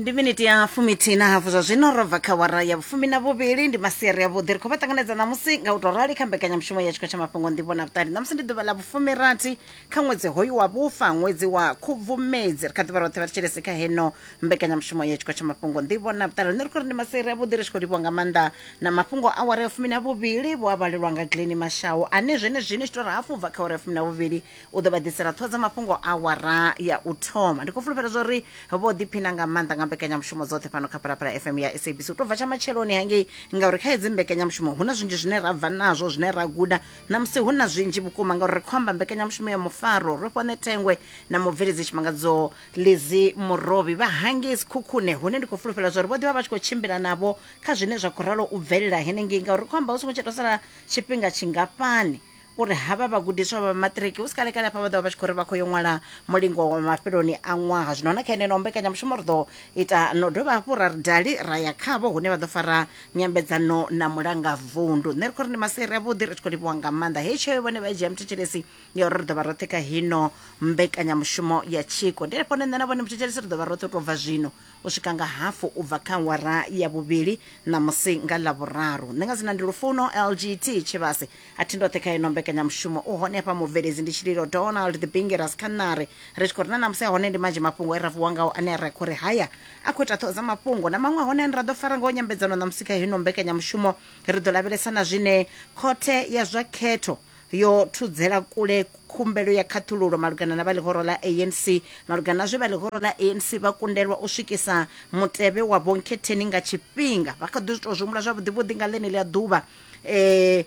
Ndi miniti ya fumithihi na hafu zwa zwino ro bva kha wara ya vhufumi na vhuvhili. Ndi masiari avhuḓi, ri khou vha ṱanganedza ṋamusi nga u tou rali kha mbekanyamushumo ya tshiko tsha mafhungo nḓivho na vhuṱali. Ṋamusi ndi ḓuvha ḽa vhufumirathi kha ṅwedzi hoyu wa vhufa, ṅwedzi wa Khubvumedzi. Ri kha ḓivha roṱhe vha thetshelesi kha heno mbekanyamushumo ya tshiko tsha mafhungo nḓivho na vhuṱali. Nṋe ri khou ri ndi masiari avhuḓi, ri tshi khou livhuwa nga maanḓa na mafhungo a wara ya fumi na vhuvhili vho a vhalelwa nga Glennie Mashau ane zwenezwino tshi tou ri hafu u bva kha wara ya fumi na vhuvhili u ḓo vha ḓisela ṱhoho dza mafhungo awara ya u thoma. Ndi khou fulufhela zwa uri vho ḓiphina nga maanḓa nga mbekanyamushumo dzoṱhe fhano kha Phalaphala FM ya SABC u tou bva tsha matsheloni hangei, ngauri kha hedzi mbekanyamushumo hu na zwinzhi zwine ra bva nazwo, zwine ra guda ṋamusi hu na zwinzhi vhukuma, ngauri ri khou amba mbekanyamushumo ya mufaro. Ro fhiwa Ṋethengwe na mubveledzi Tshimangadzo Lizzy Murovhi vha hangei Sekhukhune, hune ndi khou fulufhela zwa uri vho ḓivha vha tshi khou tshimbila navho kha zwine zwa khou ralo u bvelela henengei, ngauri ri khou amba hu songo tsha tou sala tshifhinga tshingafhani uri havha vhagudiswa vha maṱiriki hu si kale kale hafha vha ḓo vha vha tshi khou ri vha khou yo ṅwala mulingo wa mafheloni a ṅwaha. Zwino na kha heneno mbekanyamushumo ri ḓo ita no dovha hafhu ra ri dali ra ya khavho hune vha ḓo fara nyambedzano na mulanga vundu. Nṋe ri khou ri ndi masiari avhuḓi, ri tshi khou livhuwa nga maanḓa heyi tsheo vhone vha i dzhia muthetshelesi ya uri ri ḓo vha roṱhe kha hino mbekanyamushumo ya tshiko. Ndi henefho hune nṋe na vhone muthetshelesi ri ḓo vha roṱhe u tou bva zwino u swika nga hafu u bva kha awara ya vhuvhili ṋamusi nga Ḽavhuraru. Nṋe nga dzina ndi Lufuno LGT Tshivhase, a thi ndoṱhe kha ino mbekanyamushumo. U hone hafha mubveledzi ndi Tshililo Donald the Bingeras kha ṋari. Ri tshi khou ri na ṋamusi a hone ndi manzhi mafhungo e ra vuwa ngao ane ra khou ri haya a khou ita ṱhoho dza mafhungo na maṅwe a hone ane ra ḓo fara ngao nyambedzano ṋamusi kha hino mbekanyamushumo. Ri ḓo lavhelesa na zwine khothe ya zwa khetho yo thudzela kule khumbelo ya khaṱhululo malugana na vha ḽihoro ḽa ANC malugana na zwe vha ḽihoro ḽa ANC vha kundelwa u swikisa mutevhe wa vhonkhetheni nga tshifhinga. Vha kha ḓi tou zwi humbula zwavhuḓi vhuḓi nga ḽeneḽia ḓuvha eh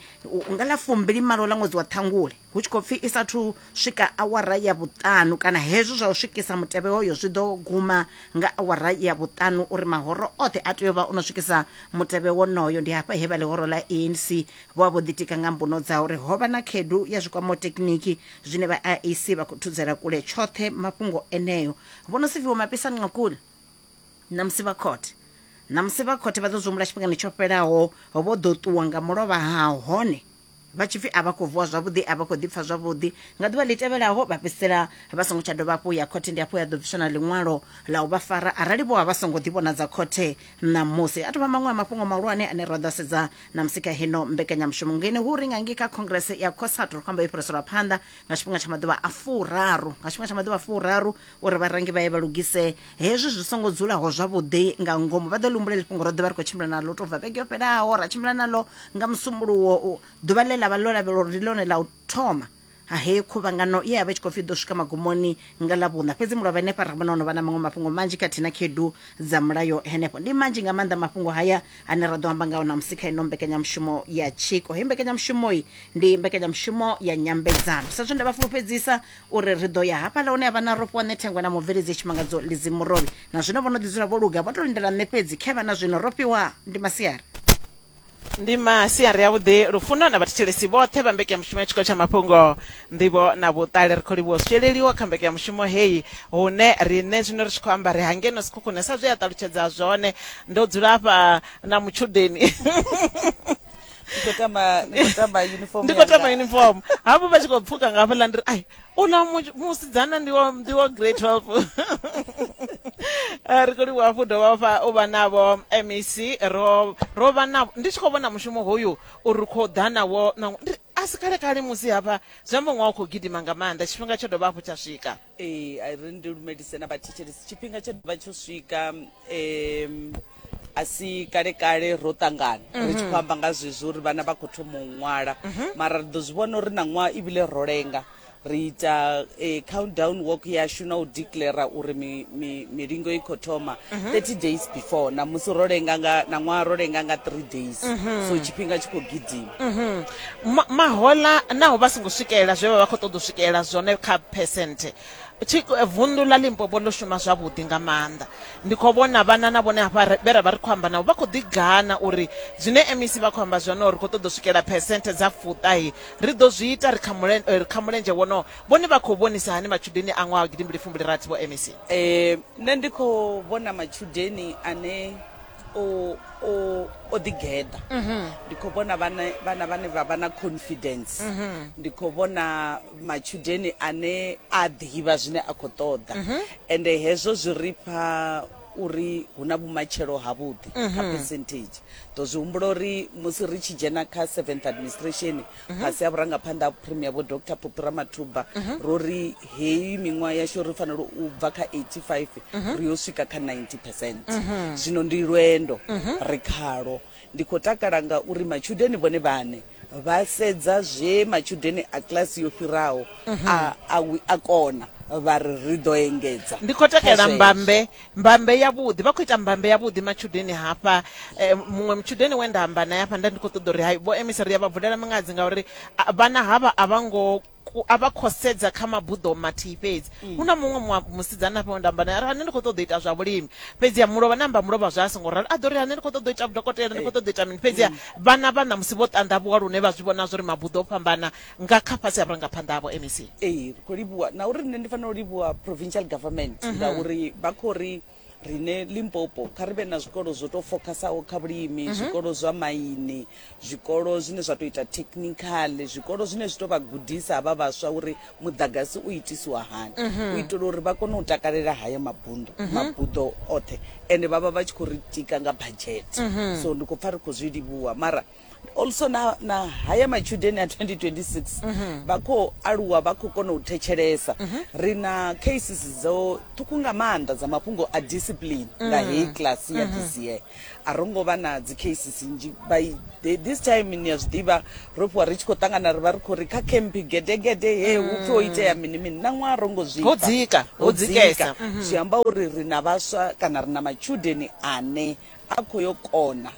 nga ḽa fumbili malo ḽa ṅwedzi wa Ṱhangule hu tshi khou pfi i sathu swika awara ya vhuṱanu kana hezwo zwa u swikisa mutevhe hoyo zwi ḓo guma nga awara ya vhuṱanu uri mahoro oṱhe a tea u vha o no swikisa mutevhe wonoyo. Ndi hafha he vha ḽihoro ḽa ANC Vho vha vho ḓitika nga mbuno dza uri ho vha na khaedu ya zwi kwamaho tekiniki, zwine vha IEC vha khou thudzela kule tshoṱhe mafhungo eneo. Vho Nosiviwe Mapisa Nqakula, Ṋamusi vha khothe Ṋamusi vha khothe vha ḓo zwi humbula tshifhingani tsho fhelaho vho ḓo ṱuwa nga mulovha ha hone vha tshi pfi a vha khou vuwa zwavhuḓi, a vha khou ḓipfa zwavhuḓi. Nga ḓuvha ḽi tevhelaho vha fhedzisela vha songo tsha dovha hafhu ya khothe, ndi hafho ya ḓo bviswa na ḽiṅwalo ḽa u vha fara arali vho vha vha songo ḓivhonadza khothe ṋamusi. A tou vha maṅwe a mafhungo mahulwane ane ra ḓo a sedza Ṋamusi kha heno mbekanyamushumo ngeno hu ri nga ngei kha Congress ya COSATU ri khou amba yo fhiriselwa phanḓa nga tshifhinga tsha maḓuvha a furaru, nga tshifhinga tsha maḓuvha a furaru uri vharangi vha ye vha lugise hezwi zwi songo dzulaho zwavhuḓi nga ngomu. Vha ḓo ḽi humbula heḽi fhungo ro ḓo vha ri khou tshimbila naḽo tou bva vhege yo fhelaho, ra tshimbila naḽo nga Musumbuluwo, ḓuvha ḽe ḽa vha ḽo lavhelelwa uri ndi ḽone ḽa u thoma ha heyi khuvhangano ye ya vha i tshi khou pfi i ḓo swika magumoni nga Ḽavhuṋa. Fhedzi mulovha henefha ra vhona ho no vha na maṅwe mafhungo manzhi khathihi na khaedu dza mulayo henefho. Ndi manzhi nga maanḓa mafhungo haya ane ra ḓo amba ngao ṋamusi kha ino mbekanyamushumo ya Tshiko. Heyi mbekanyamushumo ndi mbekanyamushumo ya nyambedzano. Sa zwe nda vha fulufhedzisa uri ri ḓo ya hafhaḽa hune ha vha na Rofhiwa Ṋethengwa na mubveledzi Tshimangadzo Lizzy Murovhi. Na zwino vho no ḓi dzula vho luga, vho tou lindela nṋe fhedzi. Khevha na zwino Rofhiwa, ndi masiari. Ndi masiari avhuḓi Lufuno na vhathetshelesi vhoṱhe vha mbekanyamushumo ya Tshiko tsha Mafhungo, Nḓivho na Vhuṱali. Ri khou livhuwa u swieleliwa kha mbekanyamushumo heyi hune riṋe zwino ri tshi khou amba ri hangeno Sekhukhune sa zwe a ṱalutshedza zwone. Ndo dzula hafha na mutshudeni Ndi khou tama ndi khou tama uniform ndi khou tama yanga. uniform hafhu vha tshi khou pfuka nga hafhaḽa ndi ri ai uḽa mu- musidzana ndi wa ndi wa grade 12. Eh, ri khou livhuwa hafhu dovha hafha u vha navho MEC ro ro vha navho ndi tshi khou vhona mushumo hoyu uri khou ḓa nawo na ndi a si kale kale musi hafha zwi amba ṅwaha u khou gidima nga maanḓa tshifhinga tsho dovha hafhu tsha swika. Ee, a ri ndi lumelise na vhathetshelesi tshifhinga tsho dovha tsho swika um a si kale kale ro ṱangana ri tshi khou amba nga zwezwo uri vhana vha khou thoma u ṅwala mara ri ḓo zwi vhona uri na ṅwaha ibile ro lenga ri ita countdown walk yashu na u declare uri mi, mi, milingo i khou thoma 30 days before na musi ro lenga nga na ṅwaha ro lenga nga 3 days so tshifhinga tshi khou gidima. Ma, mahola naho vha songo swikelela zwe vha vha khou ṱoḓa u swikelela zwone kha phesenthe tshi vunḓu ḽa Limpopo ḽo shuma zwavhuḓi nga maanḓa. Ndi khou vhona vhana na vhone hafha vhe ra vha ri khou amba navho vha khou ḓi gana uri zwine MEC vha khou amba zwone uri ri khou ṱoḓa u swikela phesenthe dza fuṱahe ri ḓo zwi ita ri kha mulen, ri kha mulenzhe wonowo. Vhone vha khou vhonisa hani matshudeni a ṅwaha wa gidimbili fumbili rathi vho MEC? Nṋe ndi khou vhona matshudeni ane o o o ḓigeḓa ndi khou vhona vhana vhana vhane vha vha na confidence ndi khou vhona matshudeni ane a ḓivha zwine a khou ṱoḓa ende hezwo zwi ri fha uri hu na vhumatshelo havhuḓi kha percentage. Ḓo zwi humbula uri musi ri tshi dzhena kha seventh administration fhasi ha vhurangaphanḓa ha Premier Vho Doctor Phophi Ramathuba, ro ri heyi miṅwaha yashu ri fanela u bva kha 85 ri yo swika kha 90 percent. Zwino ndi lwendo ri khalwo. Ndi khou takala ngauri matshudeni vhone vhaṋe vha sedza zwe matshudeni a kilasi yo fhiraho a, a, a kona, vha ri ri ḓo engedza Ndi khou kha takalela zwezwo. mbambe, mbambe yavhuḓi. Vha khou ita mbambe yavhuḓi matshudeni hafha. Eh, muṅwe mutshudeni we nda amba naye hafha nda ndi khou ṱoḓa uri hai vho MEC ri ya vha vulela miṅadzi ngauri a- vhana havha a vha ngo ku- a vha khou sedza kha mabuḓo mathihi fhedzi. Hu na muṅwe mua- musidzana hafha we nda amba naye a ri, "Ha, nṋe ndi khou ṱoḓa u ita zwa vhulimi." Fhedziha mulovha na amba mulovha zwa a songo ralo a ḓo ri, "Ha, nṋe ndi khou ṱoḓa u ita vhudokotela, ndi khou ṱoḓa u ita mini." Fhedziha vhana vha ṋamusi vho ṱanḓavhuwa lune vha zwi vhona zwa uri mabuḓo o fhambana nga kha fhasi ha vhurangaphanḓa havho MEC. Ee, ri khou livhuwa na uri nṋe ndi fanela u livhuwa provincial government ngauri vha khou ri rine Limpopo kha ri vhe na zwikolo zwo tou fokhasaho kha vhulimi, zwikolo zwa maini, zwikolo zwine zwa tou ita technical, zwikolo zwine zwi tou vha gudisa havha vhaswa uri muḓagasi u itisiwa hani, u itela uri vha kone u takalela haya mabundo mabuḓo oṱhe, ende vha vha vha tshi khou ri tika nga budget. So ndi khou pfa ri khou zwi livhuwa, mara also na, na haya matshudeni a 2026 vha khou aluwa, vha khou kona u thetshelesa. Ri na cases dzo ṱhukhu nga maanḓa dza mafhungo a discipline nga heyi class ya this year. A ro ngo vha na dzi cases nnzhi by this time. Ni a zwi ḓivha, ro fhiwa ri tshi khou ṱangana, ri vha ri khou ri kha camp gedegede he hu pfhi ho itea mini mini, na ṅwaha ro ngo zwi Ho pfa. dzika, ho Ho dzikesa. dzika. Zwi amba uri ri na vhaswa kana ri na matshudeni ane a khou yo kona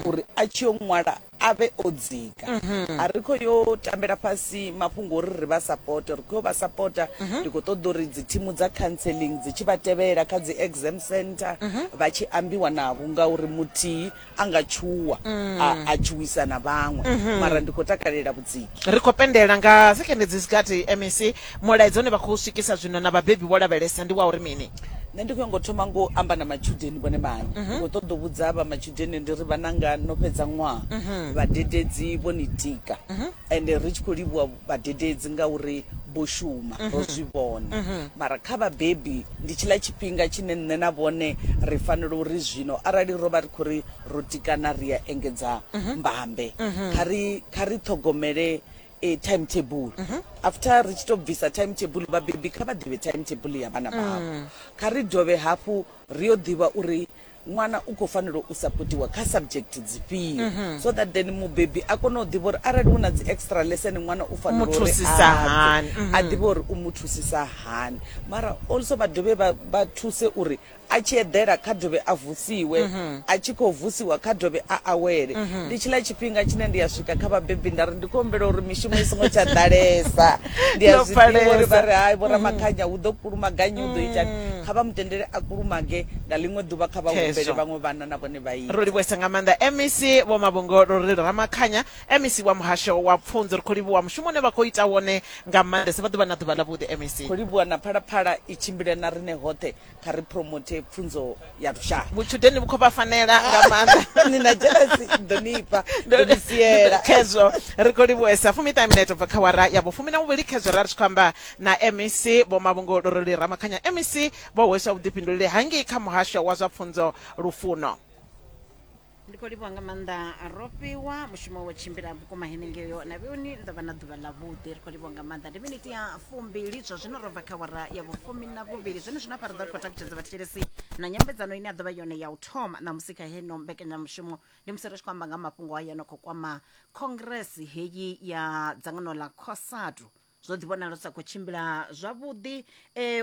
uri a tshi yo ṅwala a vhe o dzika. A ri khou yo tambela fhasi mafhungo uri ri vha sapote, ri khou yo vha sapota. Ndi khou ṱoḓa uri dzi thimu dza counseling dzi tshi vha tevhela kha dzi exam center, vha tshi ambiwa navho, ngauri muthihi a nga tshuwa a tshuwisa na vhaṅwe, mara ndi khou takalela vhudziki. Ri khou pendela nga sekende dzi si gathi MEC, mulaedza une vha khou swikisa zwino na vhabebi vho lavhelesa ndi wa uri mini? Nṋe ndi khou nyanga u thoma ngo amba na matshudeni vhone vhaṋe. Ndi khou ṱoḓa u vhudza vha matshudeni ndi ri, vhananga, no fhedza ṅwaha, vhadededzi vho ni tika, ende ri tshi khou livhuwa vhadededzi ngauri vho shuma, ro zwi vhona. Mara kha vhabebi ndi tshiḽa tshifhinga tshine nṋe na vhone ri fanela uri zwino arali ro vha ri khou ri ro tikana ri ya engedza mbambe, kha ri kha ri ṱhogomele e timetable. After ri tshi to bvisa timetable, vhabebi kha vha ḓivhe timetable ya vhana vhavho. Kha ri dovhe hafhu ri yo ḓivha uri ṅwana u khou fanela u sapotiwa kha subject dzifhio, so that then mubebi a kone u ḓivha uri arali hu na dzi extra lesson ṅwana u fanela Mu uri thusisa a bve, hani. a ḓivhe uri u mu thusisa hani. Mara also vha dovhe vha thuse uri a tshi eḓela kha dovhe a vusiwe, a tshi khou vusiwa kha dovhe a awele. Ndi tshiḽa tshifhinga tshine ndi a swika kha vhabebi nda ri ndi khou humbela uri mishumo i songo tsha ḓalesa. Ndi a Ndo zwi ḓivha uri vha pfalesa. ri hai vho Ramakhanya hu ḓo kulumaganyi, hu ḓo itani, kha vha mu tendele a kulumage, nga ḽiṅwe ḓuvha kha vha humbele Khezwo. vhaṅwe vhana na vhone vha Ro ite. livhuwesa nga maanḓa MEC Vho Mavhungo Lurili Ramakhanya, MEC wa Muhasho wa Pfunzo. Ri khou livhuwa mushumo une vha khou ita wone nga maanḓesa. Vha ḓo vha na ḓuvha ḽavhuḓi MEC. Khou livhuwa na Phalaphala i tshimbile na riṋe hoṱhe. Kha ri promote pfunzo ya lushaka. Vhutshudeni vhu khou vha fanela nga maanḓa. Ni na jealousy, ndo ni fha, ndo ni siela. Khezwo ri khou livhuwesa. Fumiṱahe minete ubva kha wara ya vhufumi na vhuvhili. Khezwo ra ri tshi khou amba na MEC Vho Mavhungo Luruli Ramakhanya. MEC vho hweswa vhuḓifhinduleli hangei kha muhasho wa zwa pfunzo Lufuno. Ndi khou livhuwa nga maanḓa Rofhiwa, mushumo wo tshimbila vhukuma henengeyo na vheuni. Ndo vha na ḓuvha ḽa vhuḓi, ri khou livhuwa nga maanḓa. Ndi miniti ya fumbili zwa zwino ro bva kha wara ya vhufumi na vhuvhili. Zwone zwino afha ri ḓo ri khou takutshedza vhathetshelesi na nyambedzano ine ya ḓo vha yone ya u thoma ṋamusi kha heno mbekanyamushumo. Ndi musi ri tshi khou amba nga mafhungo haya no khou kwama congress heyi ya dzangano ḽa Cosatu. Zwo ḓi vhonala zwi sa khou tshimbila zwavhuḓi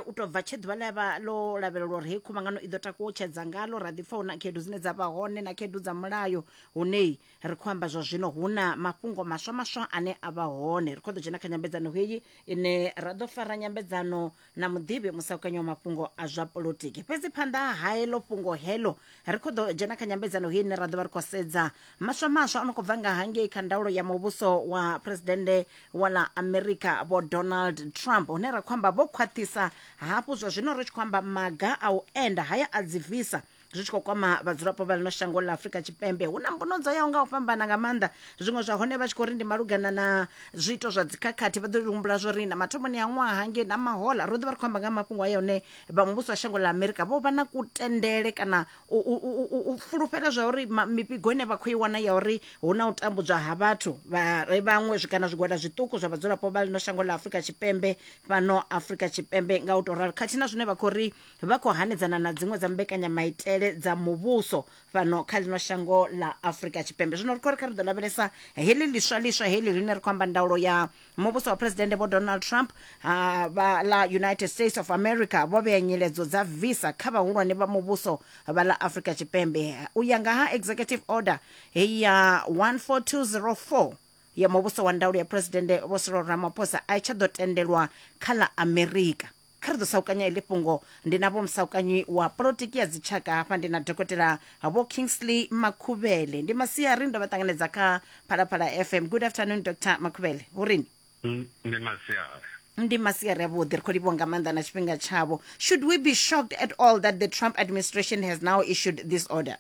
u tou bva tshe ḓuvha ḽa vha ḽo lavhelelwa uri heyi khuvhangano i ḓo takuwa u tshedza ngalo, ra ḓi pfa hu na khaedu dzine dza vha hone na khaedu dza mulayo hune ri khou amba zwa zwino hu na mafhungo maswa maswa ane a vha hone. Ri khou ḓo dzhena kha nyambedzano heyi ine ra ḓo fara nyambedzano na muḓivhi musaukanyi wa mafhungo a zwa polotiki. Fhedzi phanḓa ha heḽo fhungo heḽo ri khou ḓo dzhena kha nyambedzano heyi ine ra ḓo vha ri khou sedza maswa maswa o no khou bva nga hangei kha ndaulo ya muvhuso wa phuresidennde wa ḽa Amerika Vho Donald Trump, hune ra khou amba vho khwaṱhisa hafhu zwa zwino ri tshi khou amba maga a u enda haya a dzi visa. zwi tshi khou kwama vhadzulapo vha ḽino shango ḽa Afrika Tshipembe. Hu na mbuno dzo yaho nga u fhambana nga maanḓa, zwiṅwe zwa hone vha tshi khou ri ndi malugana na zwiito zwa dzikhakhathi. Vha ḓo humbula zwo ri na mathomoni a ṅwaha ngei na mahola ro ḓi vha ri khou amba nga mafhungo aya hune vha muvhuso wa shango ḽa Amerika vho vha na kutendele kana u, u, u, u fulufhela zwa uri mifhigo ine vha khou i wana ya uri hu na u tambudzwa ha vhathu vha re vhaṅwe kana zwigwada zwiṱuku zwa vhadzulapo vha ḽino shango ḽa Afrika Tshipembe fhano Afrika Tshipembe. Nga u tou ralo khathihi na zwine vha khou ri vha khou hanedzana na dziṅwe dza mbekanyamaitele dza muvhuso fhano kha ḽino shango ḽa Afrika Tshipembe. Zwino ri khou ri kha ri ḓo lavhelesa heḽi ḽiswa ḽiswa heḽi ḽine ri khou amba ndaulo ya muvhuso wa Phresidennde Vho Donald Trump ha vha ḽa United States of America vho vhea nyiledzo dza visa kha vhahulwane vha muvhuso vha ḽa Afrika Tshipembe u ya nga ha Executive Order heyi ya 14204 ya muvhuso wa ndaulo ya Phresidennde Vho Cyril Ramaphosa a i tsha ḓo tendelwa kha ḽa Amerika. Kha ri ḓo saukanya iḽi fhungo ndi na Vho Musaukanyi wa polotiki ya dzitshaka hafha ndi na Dokotela Vho Kingsley Makhuvhele. Ndi masiari ndo vha ṱanganedza kha Phalaphala FM. Good afternoon Dr Makhuvhele. Hu rini? Ndi masiari. Ndi masiari avhuḓi, ri khou livhuwa nga maanḓa na tshifhinga tshavho. Should we be shocked at all that the Trump administration has now issued this order?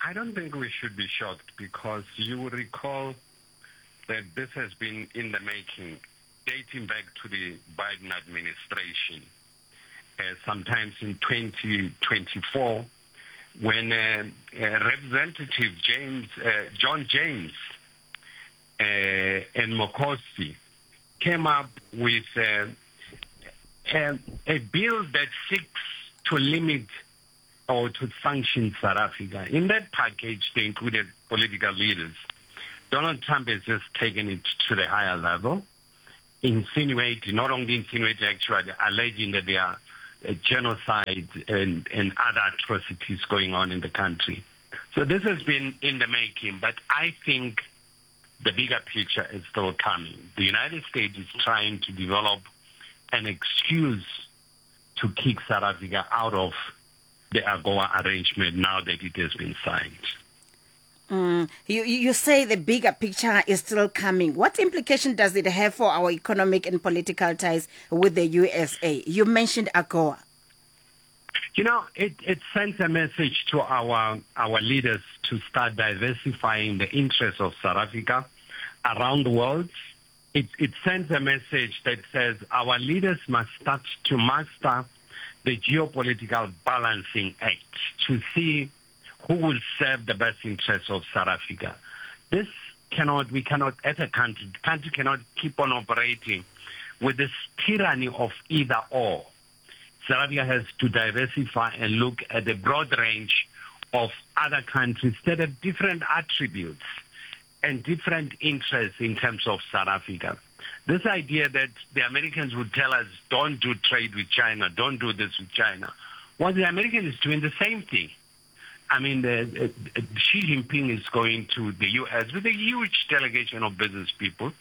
I don't think we should be shocked because you will recall that this has been in the making dating back to the Biden administration, sometimes in 2024, when Representative James, John James and Mokhosi came up with a bill that seeks to limit or to sanction South Africa. In that package, they included political leaders. Donald Trump has just taken it to the higher level, insinuating, not only insinuating, actually alleging that there are genocide and other atrocities going on in the country. So this has been in the making, but I think the bigger picture is still coming. The United States is trying to develop an excuse to kick South Africa out of the AGOA arrangement now that it has been signed. You say the bigger picture is still coming. What implication does it have for our economic and political ties with the USA? You mentioned AGOA. You know, it sends a message to our leaders to start diversifying the interests of South Africa around the world. It sends a message that says our leaders must start to master the geopolitical balancing act to see who will serve the best interests of South Africa. This cannot, we cannot, as a country, the country cannot keep on operating with this tyranny of either or. South Africa has to diversify and look at the broad range of other countries that have different attributes and different interests in terms of South Africa. This idea that the Americans would tell us, don't do trade with China, don't do this with China, well, the Americans is doing the same thing. I mean, Xi Jinping is going to the U.S. with a huge delegation of business people.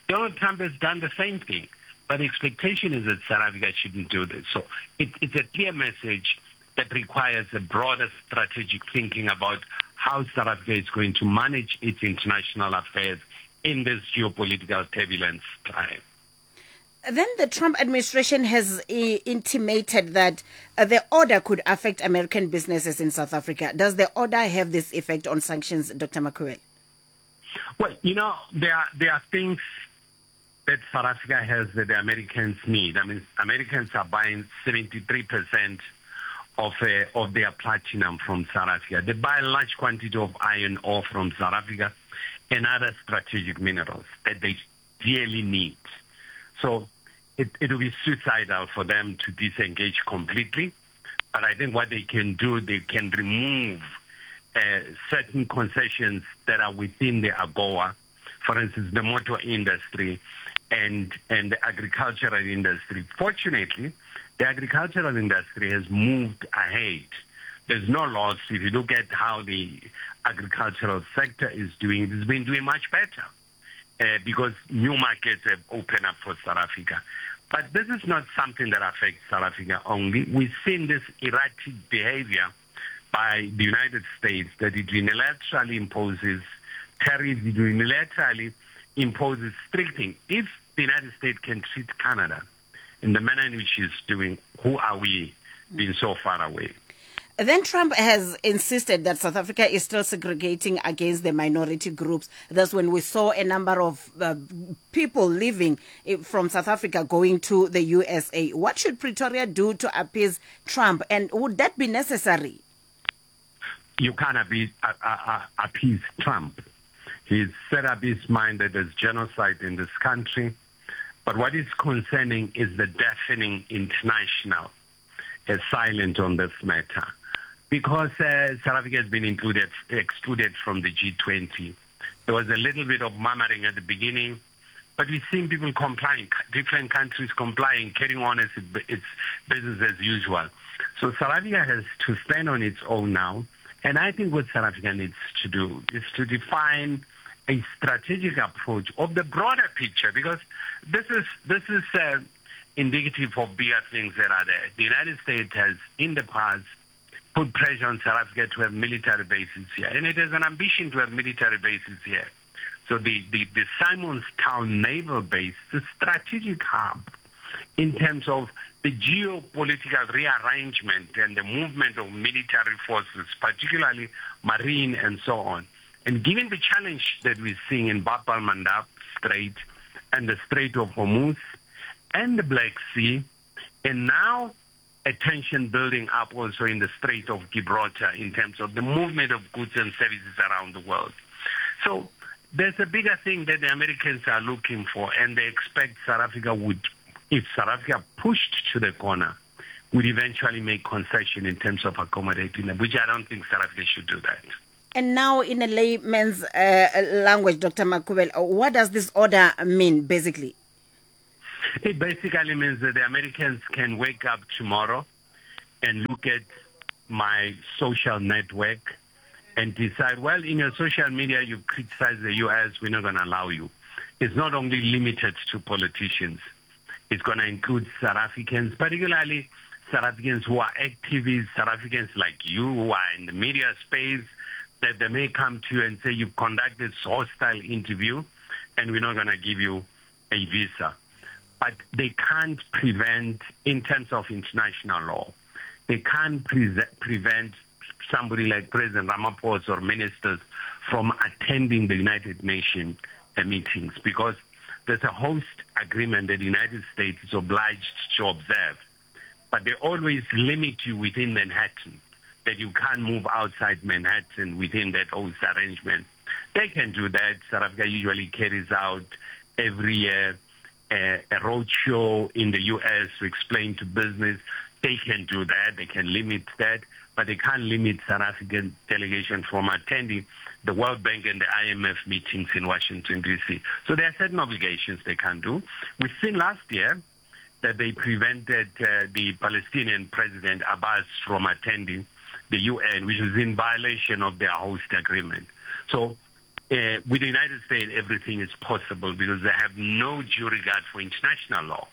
Donald Trump has done the same thing. But the expectation is that South Africa shouldn't do this. So it's a clear message that requires a broader strategic thinking about how South Africa is going to manage its international affairs in this geopolitical turbulence time. Then the Trump administration has intimated that the order could affect American businesses in South Africa. Does the order have this effect on sanctions, Dr. Makhubele? Well, you know, there are things that South Africa has that the Americans need. I mean, Americans are buying 73% of their platinum from South Africa. They buy a large quantity of iron ore from South Africa and other strategic minerals that they dearly need. So it will be suicidal for them to disengage completely. But I think what they can do, they can remove certain concessions that are within the AGOA, for instance, the motor industry and the agricultural industry. Fortunately, the agricultural industry has moved ahead. There's no loss. If you look at how the agricultural sector is doing, it's been doing much better because new markets have opened up for South Africa. But this is not something that affects South Africa only. We've seen this erratic behavior by the United States that it unilaterally imposes tariffs, it unilaterally imposes strict things. If the United States can treat Canada in the manner in which it's doing, who are we being so far away? Then Trump has insisted that South Africa is still segregating against the minority groups. That's when we saw a number of uh, people leaving eh, from South Africa going to the USA. What should Pretoria do to appease Trump? And would that be necessary? You can't appease, uh, uh, uh, appease Trump. He's set up his mind that there's genocide in this country. But what is concerning is the deafening international is silent on this matter. Because uh, South Africa has been included, excluded from the G20. There was a little bit of murmuring at the beginning, but we've seen people complying, different countries complying, carrying on as it, it's business as usual. So South Africa has to stand on its own now. And I think what South Africa needs to do is to define a strategic approach of the broader picture, because this is, this is uh, indicative of bigger things that are there. The United States has, in the past, put pressure on South Africa to have military bases here. And it has an ambition to have military bases here. So the, the, the Simonstown Naval Base is a strategic hub in terms of the geopolitical rearrangement and the movement of military forces, particularly marine and so on. And given the challenge that we're seeing in Bab al-Mandab Strait and the Strait of Hormuz and the Black Sea, and now a tension building up also in the Strait of Gibraltar in terms of the movement of goods and services around the world. So there's a bigger thing that the Americans are looking for, and they expect South Africa would, if South Africa pushed to the corner, would eventually make concession in terms of accommodating them, which I don't think South Africa should do that. And now, in a layman's uh, language, Dr. Makhubele, what does this order mean, basically? It basically means that the Americans can wake up tomorrow and look at my social network and decide, well, in your social media, you criticize the U.S., we're not going to allow you. It's not only limited to politicians. It's going to include South Africans, particularly South Africans who are activists, South Africans like you who are in the media space, that they may come to you and say, you've conducted this hostile interview and we're not going to give you a visa. But they can't prevent, in terms of international law, they can't pre- prevent somebody like President Ramaphosa or ministers from attending the United Nations uh, meetings because there's a host agreement that the United States is obliged to observe. But they always limit you within Manhattan, that you can't move outside Manhattan within that host arrangement. They can do that. South Africa usually carries out every year a, a roadshow in the U.S. to explain to business. They can do that. They can limit that. But they can't limit South African delegation from attending the World Bank and the IMF meetings in Washington, D.C. So there are certain obligations they can do. We've seen last year that they prevented uh, the Palestinian President Abbas from attending the UN, which is in violation of their host agreement. So uh, with the United States, everything is possible because they have no due regard for international law.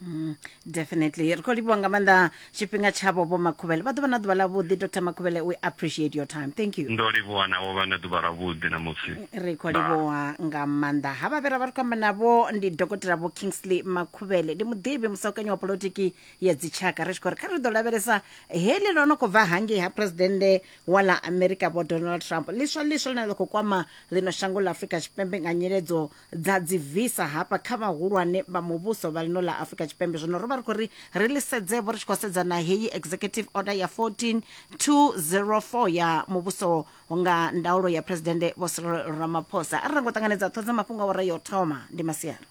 Mm, definitely ri khou livhuwa nga maanḓa tshifhinga tshavho vho makhuvhele vha ḓo vha na ḓuvha ḽavhuḓi dr makhuvhele we appreciate your time thank you ndo livhuwa navho vha na ḓuvha lavhuḓi namusi ri khou livhuwa nga maanḓa havha vhe ra vha ri khou amba navho ndi dokotela vho kingsley makhuvhele ndi muḓivhi musaukanyi wa polotiki ya dzitshaka ri tshi khou ri kha ri ḓo lavhelesa heḽi ḽo no khou bva hangei ha phuresidennde wa ḽa amerika vho donald trump ḽiswa ḽiswa ḽine ḽa khou kwama ḽino shango ḽa afurika tshipembe nga nyiledzo dza dzivisa hafha kha vhahulwane vha muvhuso vha ḽino ḽa afurika tshipembe zwino ro vha ri khou ri ri ḽi sedzevho ri tshi khou sedza na heyi executive order ya 14204 ya muvhuso nga ndaulo ya phuresidennde vho cyril ramaphosa a ri rango ṱanganedza ṱhoho dza mafhungo a wara yo thoma ndi masiari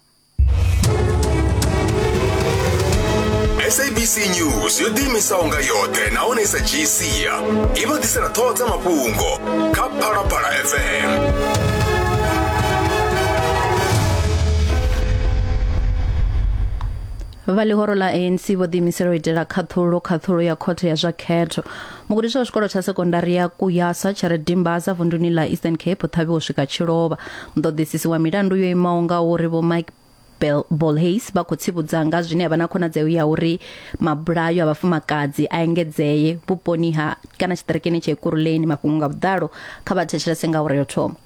sabc news yo ḓiimisaho nga yoṱhe nahone i sa dzhii sia i vha ḓisela ṱhoho dza mafhungo kha phalaphala fm Vha ḽihoro ḽa ANC vho ḓiimisela u itela khaṱhulo khaṱhulo ya khothe ya zwa khetho. Mugudiswa wa tshikolo tsha sekondari ya Kuyasa tsha re Dimbaza vunduni ḽa Eastern Cape o ṱhavhiwa u swika tshilovha. Muṱoḓisisi wa milandu yo imaho nga uri Vho Mike Bolhuis vha khou tsivhudza nga zwine ha vha na khonadzeo ya uri mabulayo a vhafumakadzi a engedzee vhuponi ha kana tshiṱirikini tsha Ekurhuleni. Mafhungo nga vhuḓalo kha vha thetshelese nga awara yo thoma.